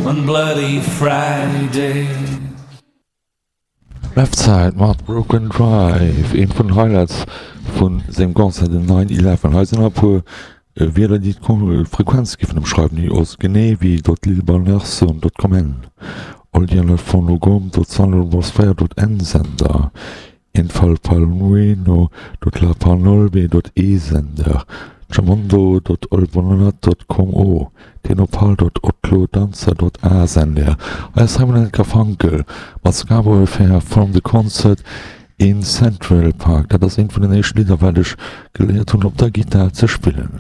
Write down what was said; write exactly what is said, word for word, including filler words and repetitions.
On Bloody Friday. Left Side mat Broken Drive, eent vun den Highlights vu sengem Concert den nine eleven. Hei sinn nach e puer Wierder déi d'Frequenz giffen emschreiwen, déi ass genee wéi dot lilbalnerson dot com en oldianelfonogom dot salonbosfeier dot en sender infalpalnueno dot lapanolbe dot e sender chamondo dot olbonat dot com o tenopal dot otlodanza dot a sender. Hei ass Simon and Garfunkel mat Scarborough Fair from the concert in Central Park. Dat ass eent vun den éischten Lidder wat ech geléiert hunn op der Gittar ze spillen.